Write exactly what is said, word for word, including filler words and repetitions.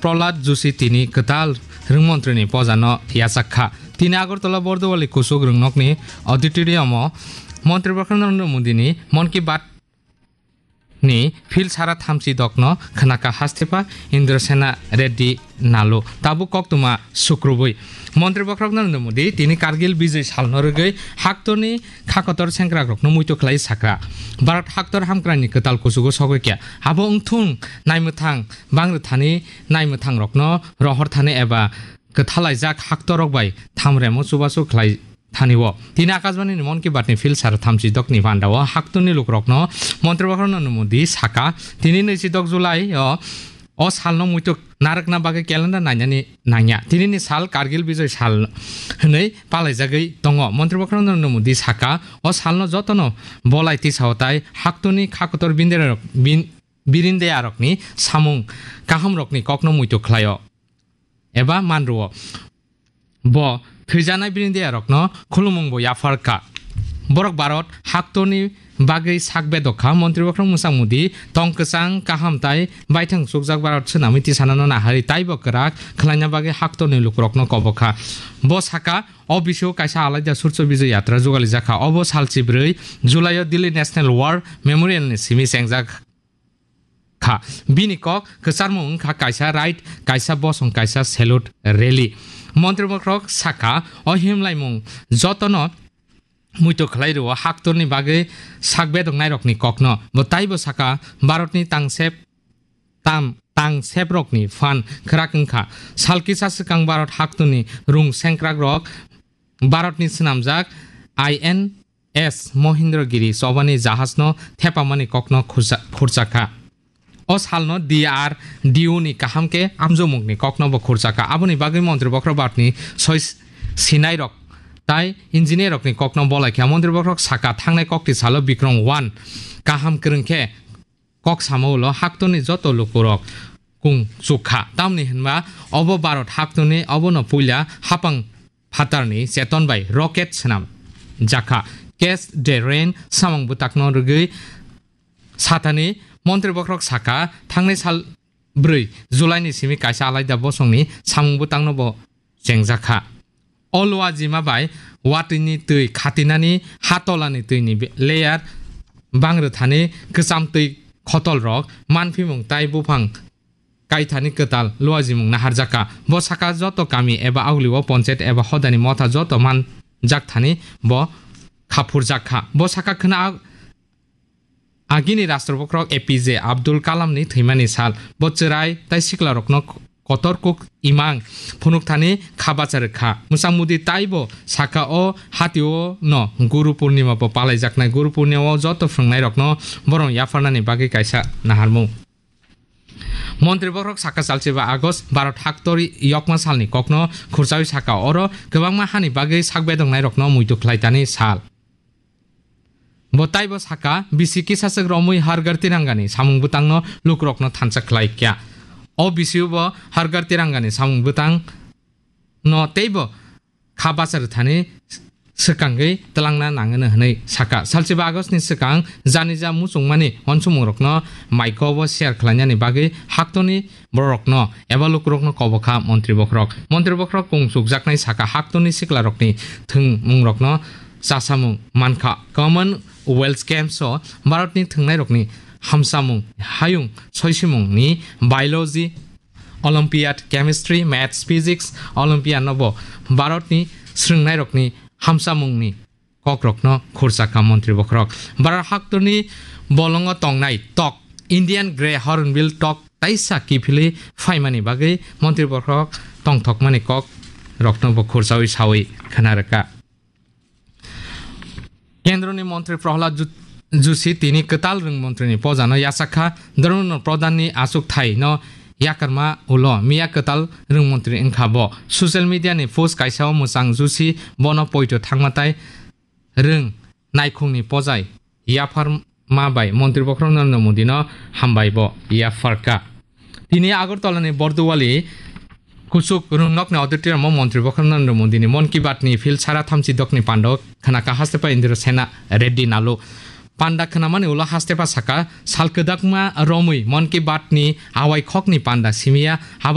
Prahlad Joshi tini kwtal rwngmontrini pojano yachak kha. Tini Agartala Bordowali kuchuk rwngnokni auditorium-o Montri Bokhorok Narendra Modini Mon Ki Baat ni phil sara thamchi dokno khnaka hastepha Indrasena Reddy Nalu. Tabuk koktwma sukrubui. Montri Bokhorok Narendra Modi tini Kargil Bijay salno rwgwi haktorni khakotor sengkrakrokno muitu khlai sakha. Bharat haktor hamkrai ni kwtal kuchugo sogwi kha. Abo wngthung naimwthang bangrwthani naimwthangrokno rohor thani eba kwthalaijak haktorrok bai thamremo chubachu khlai thani o. Tini Akashbani ni Mon Ki Baat ni phil sara thamchi dokni panda o haktorni lukurokno Montri Bokhorok Narendra Modi sakha, tini naichi dok July o, o salno muitu narwkna bagwi calendar nainani nangya. Tini ni sal Kargil Bijay sal hwnwi palaijagwi tongo. Montri Bokhorok Narendra Modi sakha, o salno jotono bolai tisao tai haktorni khakotor bindera-, bin-, birindeyarokni samung kahamrokni kokno muitu khlaio eba manrwo. Bo thwijanai birindeyarokno khulumungbo yapharkha. Borok Bharat haktorni bagwi sak bedok kha. Montri Bokhorok Mwchang Modi tong kwchang kaham tai baithang chukjak Bharat swnamwi tisanano naharwi taibo kwrak khlaina bagwi haktorni lukurokno kobokha. Bo sakha, o bisio kaisa alaida Surcho Bijay Yatra jugalijak kha. Obo sal chibrwi July-o Delhi National War Memorial-ni simi chengjak kha. Bini kok kwcharmung wngkha kaisa raid, kaisa bosong, kaisa salute rally. Montri Bokhorok sakha, o himlaimung jotono muitu khlai rwo haktorni bagwi sak bedok nairokni kokno. Bo taibo sakha, Bharatni tangsep tam, tangseprokni phan khwrak wngkha. Sal kisa swkang Bharat haktorni rung sengkrakrok Bharatni swnamjak I N S Mohendragiri chobani jahajno thepamani kokno khursa-, khurchakha. O salno D R D O ni kaham khe amjokmungni kokno bo khurchakha. Aboni bagwi Montri Bokhorok Bharatni soi sinairok tai engineer-rokni kokno bolaikha. Montri Bokhorok sakha, thangnai kokti salo Bikram one kaham kwrwng khe kok samo ulo haktorni joto lukurok kung chukha. Tamni hwnba obo Bharat haktorni obono puila hapang phatarni cheton bai rocket swnam jakha. Catch the Rain samung bwtakno rwgwi sathani Montri Bokhorok sakha, thangnai sal bwrwi July ni simi kaisa alaida bosongni samung bwtangno bo chengjakha. O luajima bai watwini twi khatinani hatolani twini be-, layer bangrwthani kwcham twi khotolrok manphimung tai buphang kaithani kwtal luajimung naharjakha. Bo sakha joto kami eba aglio ponchayat eba hodani motha joto manjakthani bo khaphurjakha. Bo sakha khwna ag-, agini Rashtra Bokhorok A P J Abdul Kalamni thwimani sal. Bo chwrai tai siklarokno kotor kuk imang phunukthani kha bacha rwkha. Mwchang Modi taibo sakha o hatio no Guru Purnima bo palaijaknai. Guru Purnima o joto phrwngnairokno borok yapharnani bagwi kaisa naharmung. Montri Bokhorok sakha, salchiba August Bharat haktori yokma salni kokno khurchawi sakha, oro kwbangma hani bagwi sak bedoknairokno muitu khlaitani sal. Bo taibo sakha, bisi kisaswk romwi Har Ghar Tirangani samung bwtangno lukurokno thansa khlai kha. O bisio bo Har Ghar Tirangani samung bwtang no teibo kha bacha rwthani swkangwi twlangna nangwino hwnwi sakha. Salchiba Augustni swkang janija muchungmani uansukmungrokno maikobo share khlainani bagwi haktorni bororokno eba lukurokno kobokha Montri Bokhorok. Montri Bokhorok kung chukjaknai sakha, haktorni siklarokni thwngmungrokno chasamung mankha. Commonwealth Games-o Bharatni thwngnairokni hamsamung, hayung soisimungni biology, Olympiad, Chemistry, Maths, Physics, Olympiad no bo Bharatni swrwngnairokni hamsamungni kokrokno khurchakha Montri Bokhorok. Bharat haktorni bolongo tongnai tok, Indian Grey Hornbill tok taisa kiphilwi phaimani bagwi Montri Bokhorok tongthokmani kokrokno bo khurchawi sawi khna rwkha. Kendroni Montri Prahlad Ju-, Joshi tini kwtal rwng montrini pojano yachakha, Dharmendra Pradhanni achukthai no yakarma ulo miya kwtal rwng montri wngkha bo. Social media ni post kaisa o mwchang Joshi bono poito thangma tai rwng naikhungni pojai yapharma bai Montri Bokhorok Narendra Modi no hambai bo yapharkha. Tini Agartala ni Bordowali kuchuk rwngnokni auditorium o Montri Bokhorok Narendra Modi ni Mon Ki Baat ni phil sara thamchi dokni pando khwnaka hastepha Indrasena Reddy Nalu. Panda khwnamani ulo hastepha sakha, sal kwdakma romwi Mon Ki Baat ni awai khokni panda simiya haba